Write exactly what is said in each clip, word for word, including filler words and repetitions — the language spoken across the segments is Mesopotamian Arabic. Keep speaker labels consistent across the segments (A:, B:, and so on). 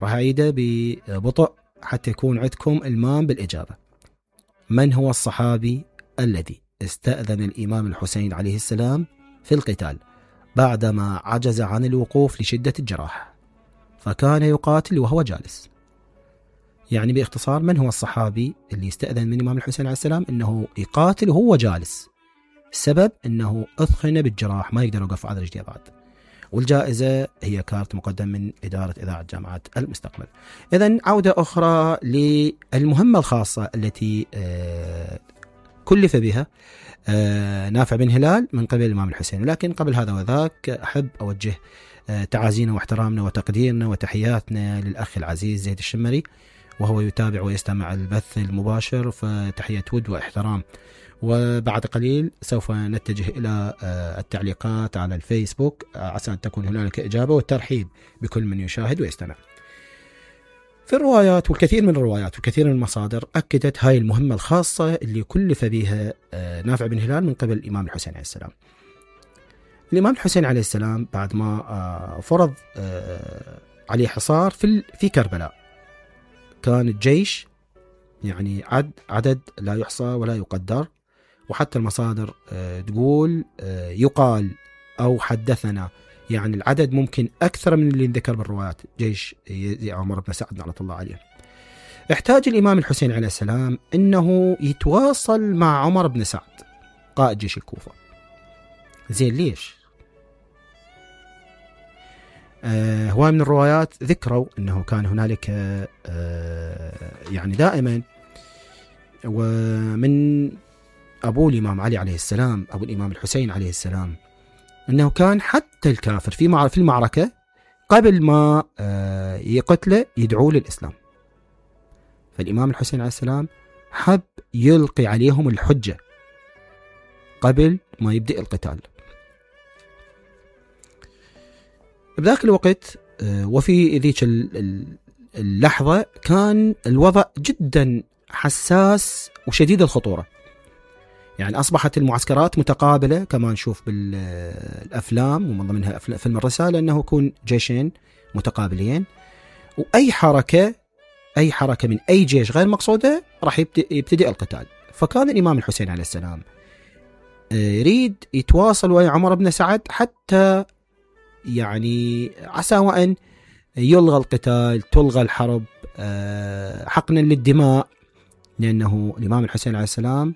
A: راح أعيده ببطء حتى يكون عندكم المام بالإجابة. من هو الصحابي الذي استأذن الإمام الحسين عليه السلام في القتال بعدما عجز عن الوقوف لشدة الجراح فكان يقاتل وهو جالس؟ يعني باختصار، من هو الصحابي اللي استأذن من الإمام الحسين عليه السلام أنه يقاتل وهو جالس؟ السبب أنه أثخن بالجراح، ما يقدر يوقف على رجليه بعد. والجائزة هي كارت مقدم من إدارة إذاعة جامعة المستقبل. إذن عودة أخرى للمهمة الخاصة التي كلف بها نافع بن هلال من قبل الإمام الحسين. لكن قبل هذا وذاك أحب أوجه تعازينا واحترامنا وتقديرنا وتحياتنا للأخ العزيز زيد الشمري، وهو يتابع ويستمع البث المباشر، فتحية ود واحترام. وبعد قليل سوف نتجه إلى التعليقات على الفيسبوك عسى أن تكون هنالك إجابة والترحيب بكل من يشاهد ويستمع. في الروايات والكثير من الروايات والكثير من المصادر أكدت هاي المهمة الخاصة اللي كلف بها نافع بن هلال من قبل الإمام الحسين عليه السلام. الإمام الحسين عليه السلام بعد ما فرض عليه حصار في في كربلاء، كان الجيش يعني عد عدد لا يحصى ولا يقدر، وحتى المصادر تقول يقال أو حدثنا يعني العدد ممكن أكثر من اللي ذكر بالروايات، جيش عمر بن سعد رحمة الله عليه. احتاج الإمام الحسين عليه السلام أنه يتواصل مع عمر بن سعد قائد جيش الكوفة. زين ليش؟ آه هواي من الروايات ذكروا أنه كان هنالك آه يعني دائما ومن أبو الإمام علي عليه السلام أبو الإمام الحسين عليه السلام أنه كان حتى الكافر في في المعركة قبل ما آه يقتله يدعو للإسلام. فالإمام الحسين عليه السلام حب يلقي عليهم الحجة قبل ما يبدأ القتال. بذاك الوقت وفي ذيك اللحظة كان الوضع جدا حساس وشديد الخطورة، يعني أصبحت المعسكرات متقابلة كما نشوف بالأفلام، ومن ضمنها فيلم الرسالة أنه يكون جيشين متقابلين، وأي حركة أي حركة من أي جيش غير مقصودة راح يبتدئ القتال. فكان الإمام الحسين عليه السلام يريد يتواصل ويا عمر بن سعد حتى يعني عسى وأن يلغى القتال، تلغى الحرب حقنا للدماء، لأنه الإمام الحسين عليه السلام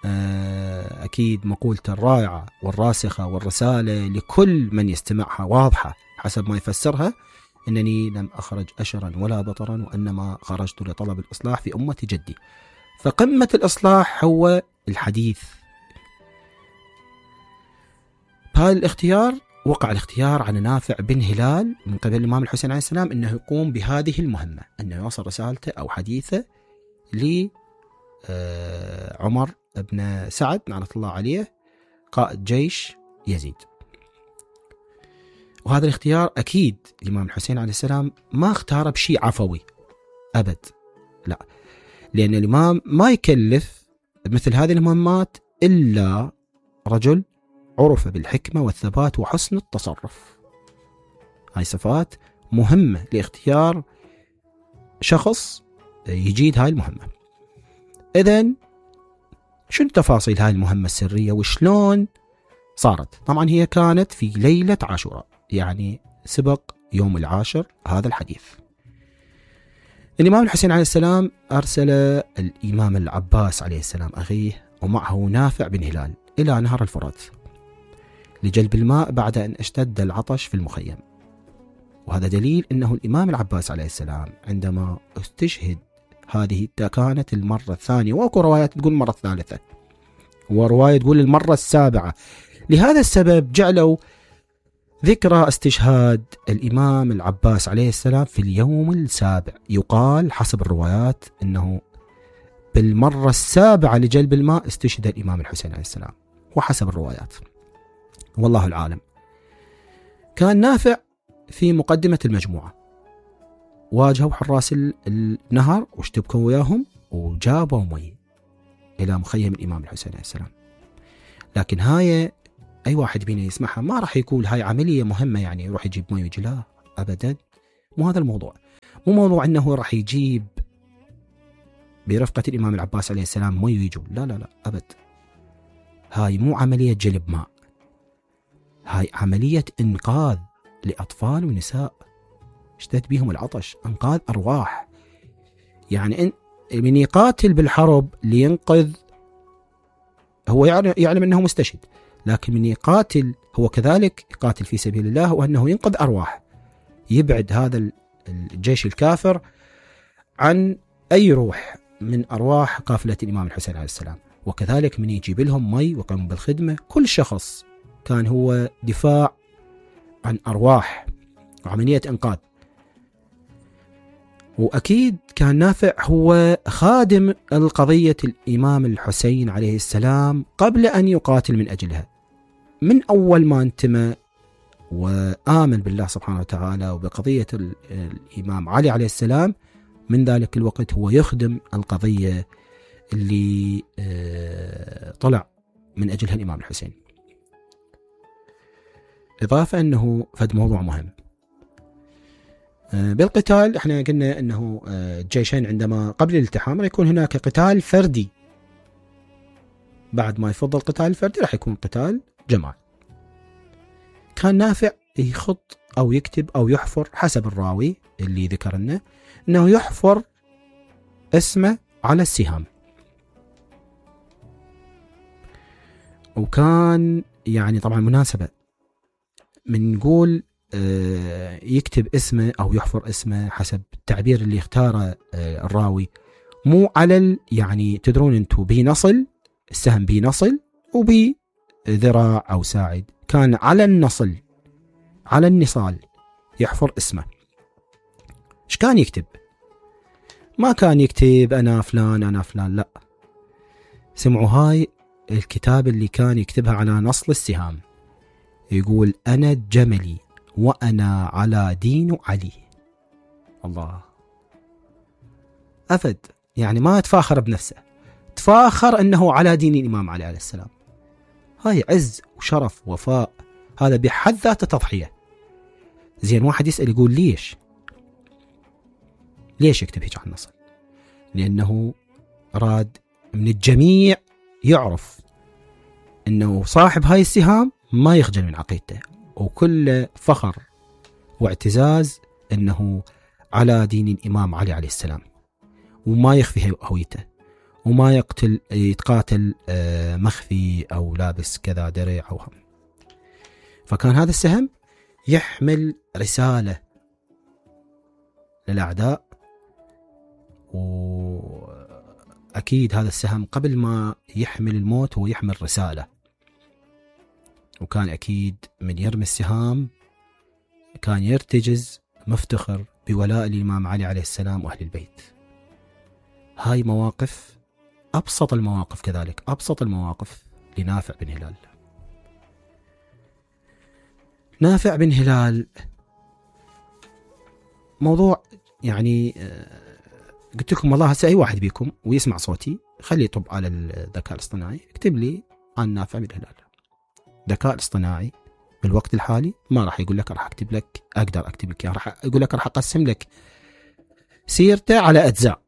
A: أكيد مقولته الرائعة والراسخة والرسالة لكل من يستمعها واضحة حسب ما يفسرها: إنني لم أخرج أشرا ولا بطرا وإنما خرجت لطلب الإصلاح في أمة جدي. فقمة الإصلاح هو الحديث. بهذا الاختيار وقع الاختيار على نافع بن هلال من قبل الإمام الحسين عليه السلام أنه يقوم بهذه المهمة، أنه يوصل رسالته أو حديثه لعمر بن سعد نعمة الله عليه قائد جيش يزيد. وهذا الاختيار أكيد الإمام الحسين عليه السلام ما اختاره بشيء عفوي أبد، لا، لأن الإمام ما يكلف مثل هذه المهمات إلا رجل عرف بالحكمة والثبات وحسن التصرف. هاي صفات مهمة لاختيار شخص يجيد هاي المهمة. إذن شنو تفاصيل هاي المهمة السرية وشلون صارت؟ طبعا هي كانت في ليلة عاشوراء، يعني سبق يوم العاشر هذا الحديث. الإمام الحسين عليه السلام أرسل الإمام العباس عليه السلام أخيه ومعه نافع بن هلال إلى نهر الفرات لجلب الماء بعد أن اشتد العطش في المخيم. وهذا دليل أنه الإمام العباس عليه السلام عندما استشهد هذه كانت المرة الثانية، وأكو روايات تقول المرة الثالثة ورواية تقول المرة السابعة. لهذا السبب جعلوا ذكرى استشهاد الإمام العباس عليه السلام في اليوم السابع. يقال حسب الروايات أنه بالمرة السابعة لجلب الماء استشهد الإمام الحسين عليه السلام، وحسب الروايات والله العالم. كان نافع في مقدمة المجموعة، واجهوا حراس النهر واشتبكوا وياهم وجابوا مي إلى مخيم الإمام الحسين عليه السلام. لكن هاي أي واحد بينا يسمعها ما راح يقول هاي عملية مهمة يعني يروح يجيب مي ويجي، لا أبدا، مو هذا الموضوع. مو موضوع أنه راح يجيب برفقة الإمام العباس عليه السلام مي ويجوا، لا لا لا أبد. هاي مو عملية جلب ماء، هاي عملية إنقاذ لأطفال ونساء اشتد بهم العطش، إنقاذ أرواح. يعني إن من يقاتل بالحرب لينقذ، هو يعلم أنه مستشهد، لكن من يقاتل هو كذلك يقاتل في سبيل الله، وأنه ينقذ أرواح، يبعد هذا الجيش الكافر عن أي روح من أرواح قافلة الإمام الحسين عليه السلام. وكذلك من يجيب لهم مي ويقوم بالخدمة، كل شخص كان هو دفاع عن أرواح وعملية إنقاذ. وأكيد كان نافع هو خادم القضية الإمام الحسين عليه السلام قبل أن يقاتل من أجلها، من أول ما انتمى وآمن بالله سبحانه وتعالى وبقضية الإمام علي عليه السلام، من ذلك الوقت هو يخدم القضية اللي طلع من أجلها الإمام الحسين. إضافة أنه فد موضوع مهم بالقتال، احنا قلنا أنه الجيشين عندما قبل الالتحام يكون هناك قتال فردي، بعد ما يفضل القتال الفردي راح يكون قتال جماعي. كان نافع يخط أو يكتب أو يحفر حسب الراوي اللي ذكر لنا أنه يحفر اسمه على السهام، وكان يعني طبعا مناسبة من نقول يكتب اسمه أو يحفر اسمه حسب التعبير اللي اختاره الراوي، مو على يعني تدرون أنتم بنصل السهم بنصل وبذراع أو ساعد، كان على النصل على النصال يحفر اسمه. ايش كان يكتب؟ ما كان يكتب أنا فلان أنا فلان، لا، سمعوا هاي الكتاب اللي كان يكتبها على نصل السهام، يقول أنا الجملي وأنا على دين علي. الله، أفد يعني ما تفاخر بنفسه، تفاخر أنه على دين الإمام علي عليه السلام. هاي عز وشرف ووفاء، هذا بحد ذاته تضحية. زين واحد يسأل يقول ليش ليش يكتب هيك على النصل؟ لأنه راد من الجميع يعرف أنه صاحب هاي السهام ما يخجل من عقيدته، وكل فخر واعتزاز أنه على دين الإمام علي عليه السلام، وما يخفي هويته، وما يقتل يتقاتل مخفي أو لابس كذا درع أو هم. فكان هذا السهم يحمل رسالة للأعداء، وأكيد هذا السهم قبل ما يحمل الموت هو يحمل رسالة، وكان أكيد من يرمي السهام كان يرتجز مفتخر بولاء الإمام علي عليه السلام وأهل البيت. هاي مواقف، أبسط المواقف كذلك، أبسط المواقف لنافع بن هلال. نافع بن هلال موضوع يعني قلت لكم والله هسه أي واحد بيكم ويسمع صوتي خليه يطب على الذكاء الاصطناعي اكتب لي عن نافع بن هلال. الذكاء الاصطناعي بالوقت الحالي ما راح يقول لك راح أكتب لك أقدر أكتب لك، راح يقول لك راح أقسم لك سيرته على أجزاء،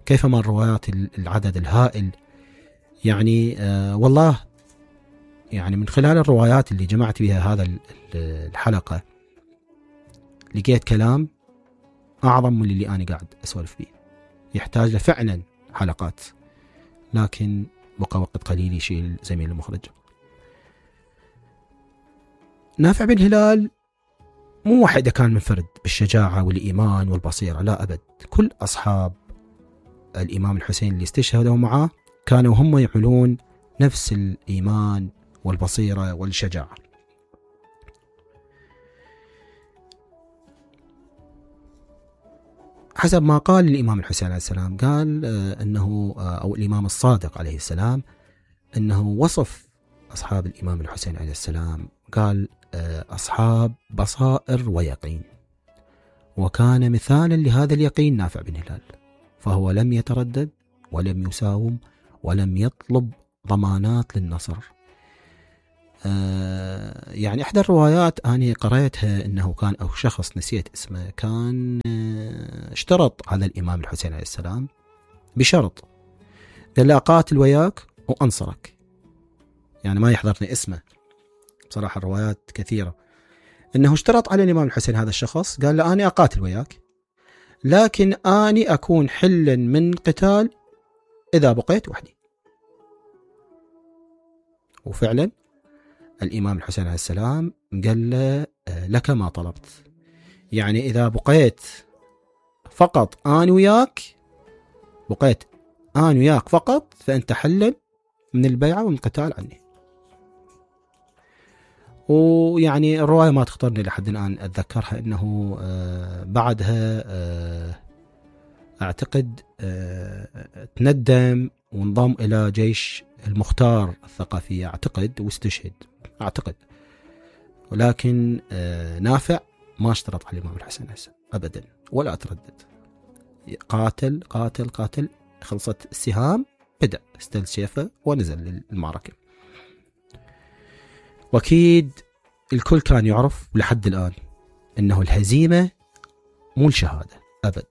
A: كيفما الروايات العدد الهائل. يعني آه والله يعني من خلال الروايات اللي جمعت بها هذا الحلقة لقيت كلام أعظم من اللي أنا قاعد أسولف فيه، يحتاج له فعلا حلقات، لكن بقى وقت قليل يشيل زميل المخرج. نافع بن هلال مو واحد كان منفرد بالشجاعة والإيمان والبصيرة، لا أبد، كل أصحاب الإمام الحسين اللي استشهدوا معه كانوا هم يحملون نفس الإيمان والبصيرة والشجاعة. حسب ما قال الإمام الحسين عليه السلام، قال أنه أو الإمام الصادق عليه السلام أنه وصف أصحاب الإمام الحسين عليه السلام، قال أصحاب بصائر ويقين، وكان مثالا لهذا اليقين نافع بن هلال، فهو لم يتردد ولم يساوم ولم يطلب ضمانات للنصر. آه يعني إحدى الروايات أنا قرأتها أنه كان أو شخص نسيت اسمه كان اشترط على الإمام الحسين عليه السلام بشرط، قال له أقاتل وياك وأنصرك. يعني ما يحضرني اسمه بصراحة، الروايات كثيرة، إنه اشترط على الإمام الحسين هذا الشخص، قال له أنا أقاتل وياك لكن أني أكون حلا من قتال إذا بقيت وحدي. وفعلا الإمام الحسين عليه السلام قال له لك ما طلبت، يعني إذا بقيت فقط أنا وياك، بقيت أنا وياك فقط، فأنت حلا من البيعة ومن القتال عني. ويعني الرواية ما تخطرني لحد الآن أتذكرها، إنه بعدها أعتقد تندم وانضم إلى جيش المختار الثقافية أعتقد واستشهد أعتقد. ولكن نافع ما اشترط على الإمام الحسين أبدا ولا تردد، قاتل قاتل قاتل، خلصت السهام بدأ استل سيفه ونزل للمعركة. وأكيد الكل كان يعرف لحد الآن أنه الهزيمة مو الشهادة أبد،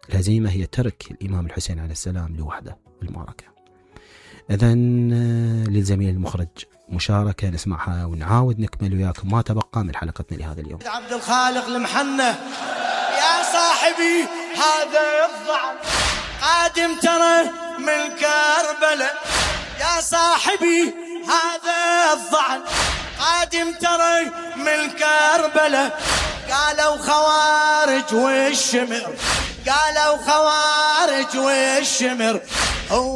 A: الهزيمة هي ترك الإمام الحسين عليه السلام لوحده بالمعركة. إذن للزميل المخرج مشاركة نسمعها ونعاود نكمل وياكم ما تبقى من حلقتنا لهذا اليوم.
B: عبد الخالق المحنة، يا صاحبي هذا الضعن قادم ترى من كربلاء، يا صاحبي هذا الضعن قادم ترى من كربلاء. قالوا خوارج والشمر، قالوا خوارج والشمر هو